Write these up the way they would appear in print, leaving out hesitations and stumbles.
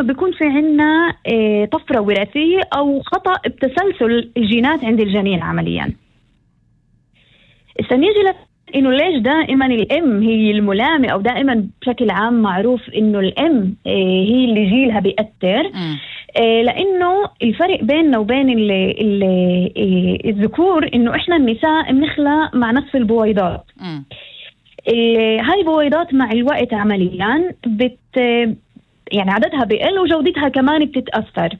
لما بيكون في عنا طفرة وراثية أو خطأ بتسلسل الجينات عند الجنين عمليا. نيجي إنه ليش دائما الأم هي الملامة، أو دائما بشكل عام معروف إنه الأم هي اللي جيلها بيأثر. لأنه الفرق بيننا وبين الذكور إنه إحنا النساء بنخلق مع نصف البويضات. هاي البويضات مع الوقت عمليا يعني عددها بيقل وجودتها كمان بتتأثر.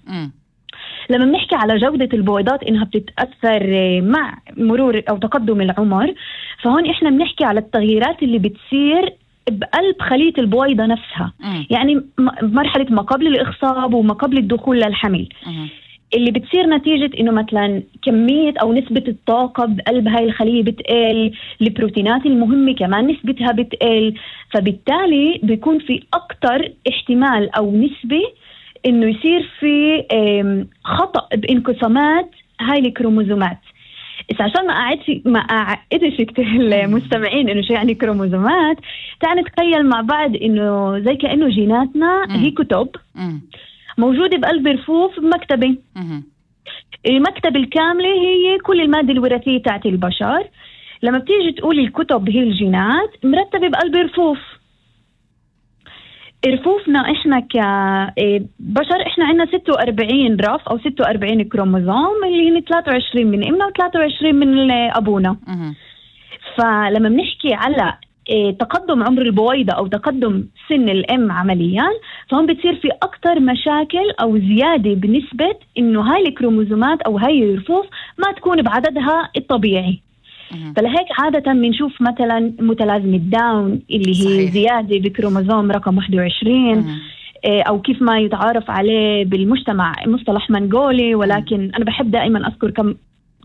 لما بنحكي على جودة البويضات إنها بتتأثر مع مرور أو تقدم العمر، فهون إحنا بنحكي على التغييرات اللي بتصير بقلب خلية البويضة نفسها. يعني مرحلة ما قبل الإخصاب وما قبل الدخول للحمل، اللي بتصير نتيجة إنه مثلا كمية أو نسبة الطاقة بقلب هاي الخلية بتقل، البروتينات المهمة كمان نسبتها بتقل، فبالتالي بيكون في أكتر احتمال أو نسبة إنه يصير في خطأ بانقسامات هاي الكروموزومات. عشان ما أعقدش كتير المستمعين إنه شو يعني كروموزومات، تعال نتخيل مع بعض إنه زي كأنه جيناتنا هي كتب موجودة بقلب رفوف بمكتبة. المكتبة الكاملة هي كل المادة الوراثية تاعت البشر. لما بتيجي تقول الكتب هي الجينات مرتبة بقلب رفوف. رفوفنا إحنا كبشر إحنا عنا 46 رف أو 46 كروموزوم، اللي هن 23 من إمنا و23 من أبونا. فلما بنحكي على تقدم عمر البويضة أو تقدم سن الأم عمليا، فهم بتصير في أكتر مشاكل أو زيادة بنسبة إنه هاي الكروموزومات أو هاي الرفوف ما تكون بعددها الطبيعي. فلهيك عادة بنشوف مثلا متلازمة داون اللي هي صحيح. زيادة بكروموزوم رقم 21 أو كيف ما يتعارف عليه بالمجتمع مصطلح منغولي، ولكن أنا بحب دائما أذكر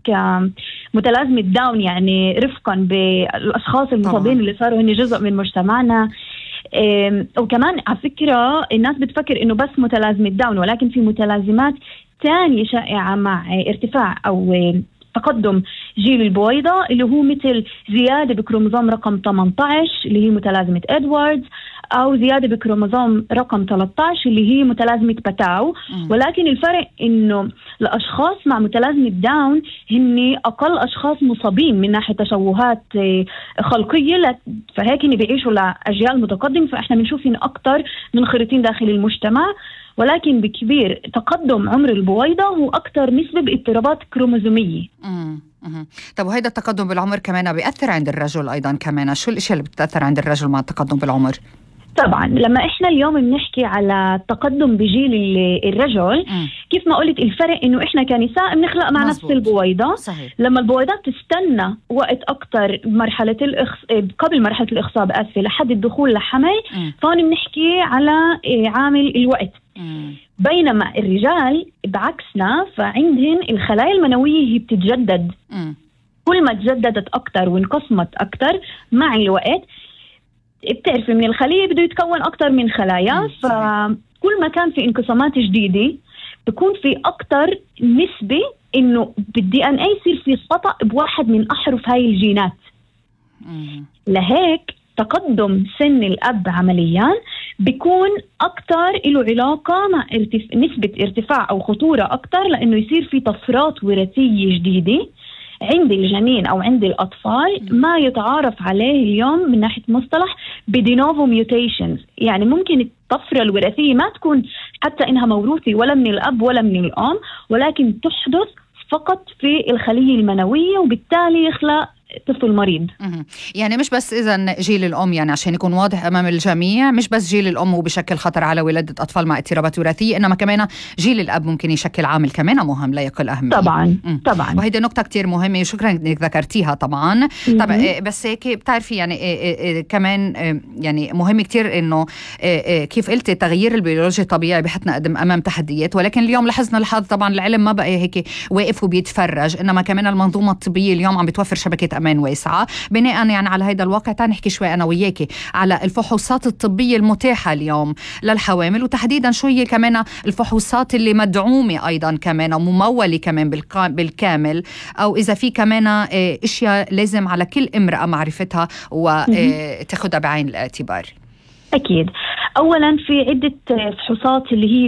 كمتلازمة داون يعني رفقا بالأشخاص المصابين اللي صاروا هن جزء من مجتمعنا. وكمان على فكرة الناس بتفكر إنه بس متلازمة داون، ولكن في متلازمات تانية شائعة مع ارتفاع أو تقدم جيل البويضة، اللي هو مثل زيادة بكروموزوم رقم 18 اللي هي متلازمة إدواردز، أو زيادة بكروموزوم رقم 13 اللي هي متلازمة باتاو. ولكن الفرق إنه الأشخاص مع متلازمة داون هن أقل أشخاص مصابين من ناحية تشوهات خلقية، فهيك هن بيعيشوا لأجيال متقدمة، فإحنا بنشوف إن أكتر منخرطين داخل المجتمع. ولكن بكبير تقدم عمر البويضة هو أكتر نسبة باضطرابات كروموزومية. طب وهيدا التقدم بالعمر كمان بيأثر عند الرجل أيضا كمان؟ شو الأشياء اللي بتأثر عند الرجل مع التقدم بالعمر؟ طبعا لما إحنا اليوم بنحكي على التقدم بجيل الرجل، كيف ما قلت الفرق إنه إحنا كنساء بنخلق مع نفس البويضة. صحيح. لما البويضات تستنى وقت أكتر مرحلة قبل مرحلة الإخصاب لحد الدخول لحمل، فهون بنحكي على عامل الوقت. بينما الرجال بعكسنا فعندهن الخلايا المنوية هي بتتجدد. كل ما تجددت أكتر وانقسمت أكتر مع الوقت، بتعرف من الخلية بده يتكون أكتر من خلايا، فكل ما كان في انقسامات جديدة بيكون في أكتر نسبة إنه بالدي ان اي يصير في خطأ بواحد من أحرف هاي الجينات. لهيك تقدم سن الأب عمليا بيكون أكتر له علاقة مع نسبة ارتفاع أو خطورة أكتر، لأنه يصير في طفرات وراثية جديدة عند الجنين أو عند الأطفال ما يتعارف عليه اليوم من ناحية مصطلح بدينوفو ميوتيشنز. يعني ممكن الطفرة الوراثية ما تكون حتى إنها موروثة ولا من الأب ولا من الأم، ولكن تحدث فقط في الخلية المنوية، وبالتالي يخلق طفل مريض. يعني مش بس إذن جيل الأم، يعني عشان يكون واضح أمام الجميع، مش بس جيل الأم وبشكل خطر على ولادة أطفال مع اضطرابات وراثية، إنما كمان جيل الأب ممكن يشكل عامل كمان مهم لا يقل أهمية. طبعا وهيدي نقطة كتير مهمة، وشكرا إنك ذكرتيها طبعا. طبعا بس هيك بتعرفي يعني كمان يعني مهم كتير إنه كيف قلتي تغيير البيولوجي طبيعي بحطنا قدم أمام تحديات، ولكن اليوم لاحظنا الحظ طبعا العلم ما بقى هيك واقف وبيتفرج، إنما كمان المنظومة الطبية اليوم عم بتوفر شبكة أمان واسعة. بناء يعني على هذا الواقع تعال نحكي شوي أنا وياكي على الفحوصات الطبية المتاحة اليوم للحوامل، وتحديدا شو هي كمان الفحوصات اللي مدعومة أيضا كمان وممولة كمان بالكامل، أو إذا في كمان أشياء لازم على كل امرأة معرفتها وتاخدها بعين الاعتبار. أكيد. أولا في عدة فحوصات اللي هي